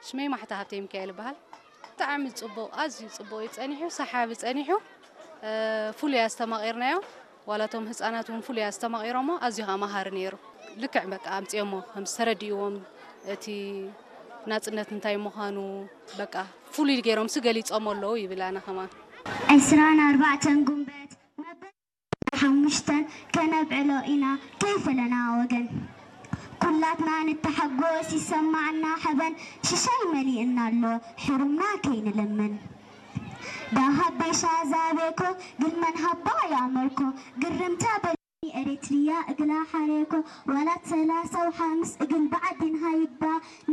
ሽመይ ማሕታ ሃብተይ ሚካኤል ይበሃል። ብጣዕሚ ጽቡቕ፣ ኣዝዩ ጽቡቕ እዩ ጸኒሑ፣ ሰሓቢ ጸኒሑ፣ እ፣ ፍሉይ ኣስተማቒርናዮ። ዋላ እቶም ህጻናት እውን ፍሉይ ኣስተማቒሮሞ፣ ኣዝዩ ኸኣ መሃሪ ነይሩ። ልክዕ በቃ ኣምጺኦሞ፣ ከም ዝተረድእዎም፣ እቲ ናጽነት እንታይ ምዃኑ፣ በቃ ፍሉይ ገይሮምሲ ገሊጾሞ ኣለዉ ይብል ኣነ ከማን። ዕስራን ኣርባዕተን ጉንበት መበል ሓሙሽተን ከነብዕሎ ኢና ከይፈለና ወገን። ኩላትና ንተሓጎስ ይሰማዕና ሓበን፣ ሽሻይ መሊእና ኣሎ ሕሩምና ከይንልምን። ዳሃብ ቤሻ ዛቤኮ ግልመን ሃባ ያመርኮ ግርምታ በ ኤሪትሪያ እግላ ሓሬኮ ዋላት ሰላሳ ወሓምስ እግል ብዓዲን ሃይባ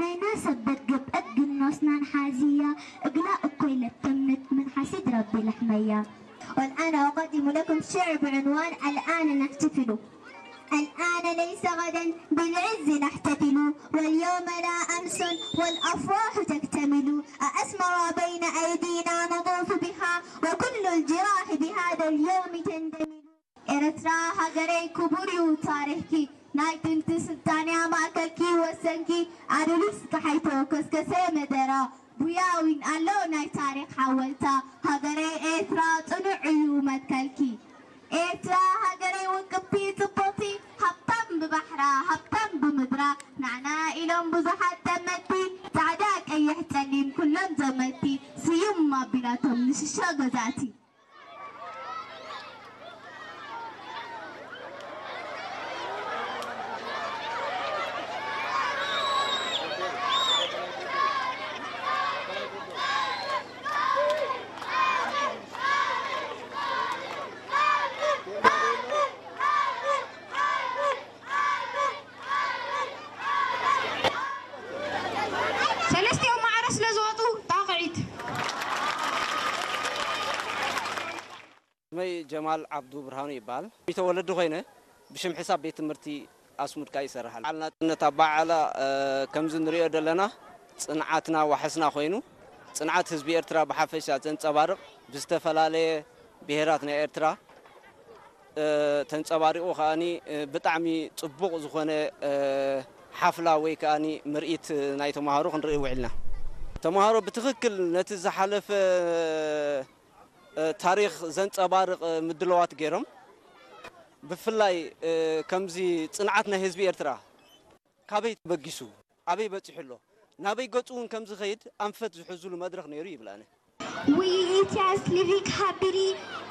ናይና ሰበት ግብ እግል ኖስናን ሓዚያ እግላ እኮይ ለተምት ምን ሓሲድ ረቢ ለሕመያ። والآن أقدم لكم شعر بعنوان الآن نحتفل. الآن ليس غدا بالعز نحتفل، واليوم لا أمس والأفراح تكتمل. أأسمر بين أيدينا نطوف بها، وكل الجراح بهذا اليوم تندمل. ኤርትራ ሃገረይ ክቡር እዩ ታሪኽኪ፣ ናይ ጥንቲ ስልጣንያ ማእከልኪ ወሰንኪ፣ ኣዱሊስ ከሓይቶ ከስከሰ መደራ፣ ቡያዊን ኣሎ ናይ ታሪኽ ሓወልታ፣ ሃገረይ ኤርትራ ጽኑዕ እዩ መትከልኪ። ኤርትራ ሃገረይ ውቅብቲ ጽብቕቲ፣ ሃብታም ብባሕራ ሃብታም ብምድራ፣ ንዓና ኢሎም ብዙሓት ጠመቲ፣ ጻዕዳ ቀይሕ ጸሊም ኩሎም ዘመቲ፣ ስዩም ኣቢላቶም ንሽሻ ገዛእቲ። ሰለስቲኦም ማዕረ ስለ ዝወጡ ጣቕዒት። ስመይ ጀማል ዓብዱ ብርሃኑ ይበሃል። ሚተ ወለዲ ኮይነ ብሽም ሕሳብ ቤት ትምህርቲ ኣስሙድካ ይሰርሕ ኣሎ። በዓል ናጽነት ኣበዓዕላ ከምዚ ንሪኦ ዘለና ጽንዓትና ዋሕስና ኮይኑ ጽንዓት ህዝቢ ኤርትራ ብሓፈሻ ዘንጸባርቕ ብዝተፈላለየ ብሄራት ናይ ኤርትራ ተንጸባሪቑ ከኣኒ ብጣዕሚ ጽቡቕ ዝኾነ ሓፍላ ወይ ከኣኒ ምርኢት ናይ ተምሃሮ ክንርኢ ውዒልና። ተምሃሮ ብትኽክል ነቲ ዝሓለፈ ታሪኽ ዘንጸባርቕ ምድላዋት ገይሮም። ብፍላይ ከምዚ ጽንዓት ናይ ህዝቢ ኤርትራ ካበይ ተበጊሱ፣ ኣበይ በጺሑ ኣሎ፣ ናበይ ገጹ እውን ከም ዝኸይድ ኣንፈት ዝሕዙሉ መድረኽ ነይሩ ይብል ኣነ። We Ethiopians living happily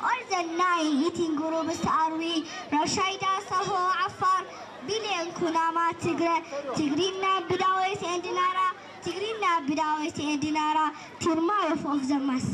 all the night eating gurubs are we Rashida Saho Afar billion Kunama Tigre Tigrina Bidawes and Nara Tigrina Bidawes and Nara Tirmayev of the mass.